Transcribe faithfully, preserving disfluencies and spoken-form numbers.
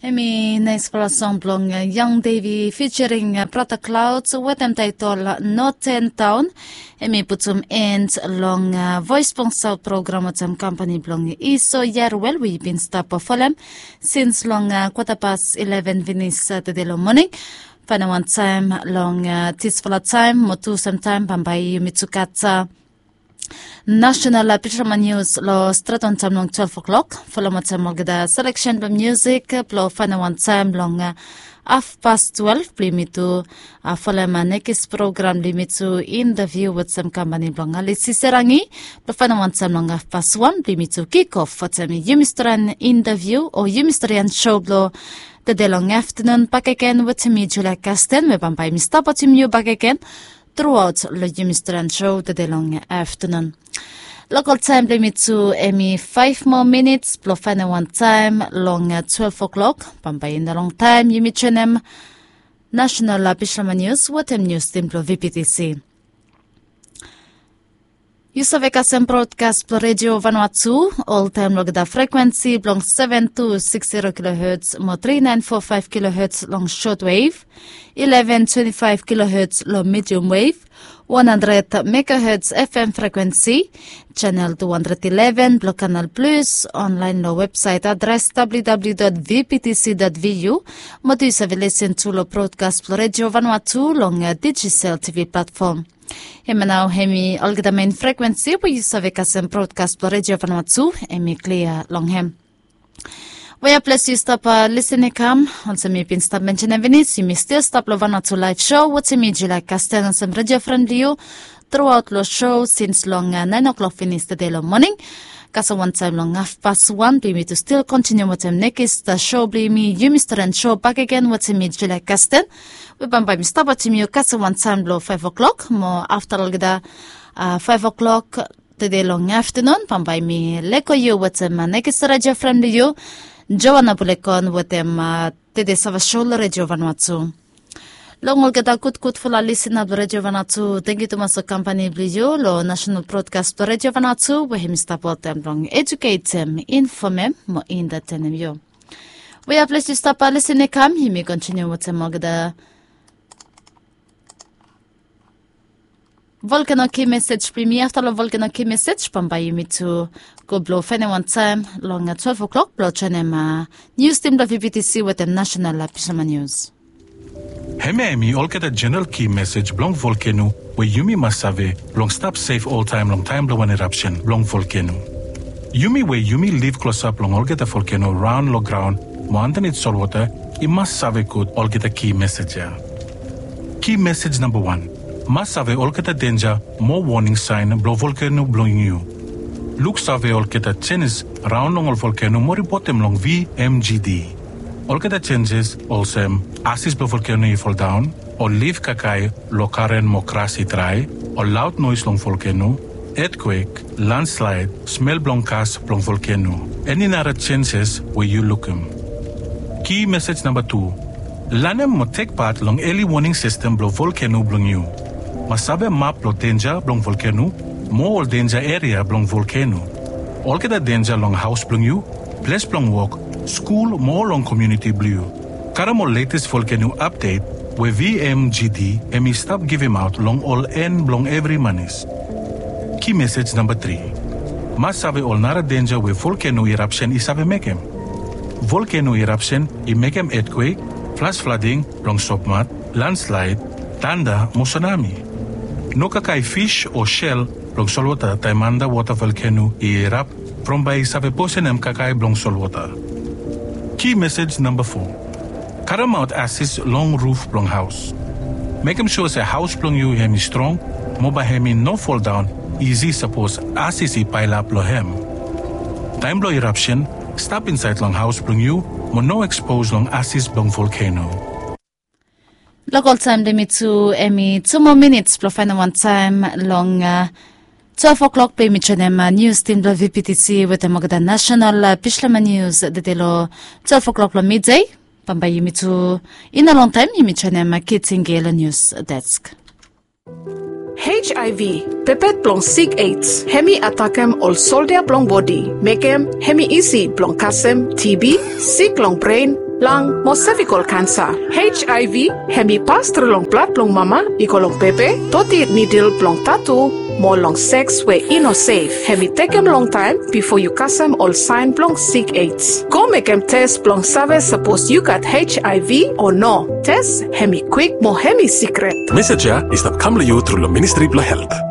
Hemi naispela song blong Young Davy featuring Brother Clouds wetem taitol Northern Town. Hemi putum end long Voice blong South program wetem kampani blong Iso Yaruel we yu bin stap folem sins long kwata pas eleven finis Satade long moning. Faindaon wantaem long disfala taem mo tu samtaem bambae yumi tu gat national Pisama News long stret wantaem long twelve o'clock. Folem wantaem olgeta seleksen blong musik blong faindaon wantaem long hafpas twelve blong yumi tu folem nekis program blong yumi tu interview wetem kampani blong Alisi Serangi blong faindaon wantaem long hafpas wan blong yumi tu kick off wetem yumi storian interview o yumi storian show blong tede long aftanun bakegen wetem mi Julia Kasten we bambae mi stap wetem yu bakegen truaot long yumi storian show tede long aftanun. Lokal taem blong yumi tu hemi faef moa minits blong faindaon wantaem long twelve o'clock. Bambae i no longtaem yumi joenem national Pisama News wetem nius tim blong VPTC. Yu save kasem brodkas blong Redio Vanuatu oltaem long olgeta frekuensi blong seven two six zero kilohertz mo three nine four five kilohertz long shortwave, eleven twenty five kilohertz long medium wave, one hundred megahertz FM frekuensi, channel two hundred eleven blong Kanal Plus, online long websaet adres www vptc vu, mo tu yu save lisen tu long brodkas blong Redio Vanuatu long Digicel TV platform. Hemia nao hemi olgeta mein frekuensi we yu save kasem brodkas blong Redio Vanuatu hemi klia long hem. Wea ples yu stap lisin i kam, olsem mi bin stap mensenem finis, yumi stil stap long Vanuatu laev show wetem mi Julia Kasten olsem redio fren blong yu truaot long show sins long naen o'clock finis tede long moning. Kasem wantaem long hafpas wan blong yumi tu stil kontiniu wetem nekis show blong yumi, yumi storian show bakegen wetem mi Julia Kasten. We bambae mi stap wetem yu kasem wantaem long faef o'clock mo afta long olgeta faef o'clock tede long aftanun bambae mi lego yu wetem nekis redio fren blong yu, Joana Bulekon wetem tede save show long Redio Vanuatu. Long olgeta gudgudfala lisina blong Redio Vanuatu, tangkiu tumas long kampani blong yu long nasenal brodkas blong Redio Vanuatu we hemi stap oltaem blong ejuketem, infomem mo entatenem yu. Wea ples yu stap lisin i kam, yumi kontiniu wetem olgeta volkeno ki mesej blong yumi. Afta long volkeno ki mesej bambae yumi tu go blong faenem wantaem long twelve o'clock blong joenem nius tim blong VPTC wetem nasenal Pisama News. Hemia hemi olgeta jeneral ki mesej blong volkeno we yumi mas save blong stap sef oltaem long taem blong wan erapsen blong volkeno. Yumi we yumi liv klosap long olgeta volkeno raon long graon mo andanit solwota i mas save gud olgeta ki mesej ya. Ki mesej namba wan, mas save olgeta denja mo woning saen blong volkeno blong yu. Luksave olgeta jenis raon long ol volkeno mo ripotem long VMGD. Olgeta jenjes olsem asis blong volkeno i foldaon, ol lif kakae long karen mo gras i drae, ol laod noes long volkeno, etkwek, landslaed, smel blong gas blong volkeno, eni nara jenjes we yu lukim. Ki mesej namba tu, lanem mo tek pat long eli woning sistem blong volkeno blong yu. Mas save map blong denja blong volkeno mo ol denja eria blong volkeno, olgeta denja long haos blong yu, ples blong wok, skul mo long komuniti blong yu. Karem ol letes volkeno apdet we VMGD hemi stap givimaot long ol en blong evri manis. Ki mesej namba tri, mas save ol nara denja we volkeno irapsen i save mekem. Volkeno irapsen i mekem etkwek, flas flading blong sopmat, landslaed, tanda mo sunami. No kakae fis o sel blong solwota taem andawota volkeno i irap from bae i save posenem kakae blong solwota. Ki mesej namba fo, karemaot asis long ruf blong haos. Mekem sua se haos blong yu hemi strong mo bae hemi no foldaon isi sapos asis i paelap long hem. Taem blong irapsen, stap insaed long haos blong yu mo no ekspos long asis blong volkeno. Lokal taem blong yumi tu hemi tu moa minits blong faenem wantaem long twelve o'clock blong yumi joenem nius tim blong VPTC wetem olgeta nasenal Pisama News tede long twelve o'clock long midei. Bambae yumi tu i no longtaem yumi joenem Kitinge long nius desk. HIV, pepet blong sik AIDS, hemi atakem ol soldia blong bodi, mekem hemi isi blong kasem TB, sik long bren, lang mo sevikol kansa. H I V hem i pas tru long blad blong mama i go long pepe, doti nidil blong tatu, mo long seks we i no sef. Hem i tekem longtaem bifo yu kasem ol saen blong sik AIDS. Go mekem tes blong save sapos yu gat H I V o no. Tes hem i kwik mo hem i sikret. Mesej ya i stap kam long yu tru long Ministri blong Helt.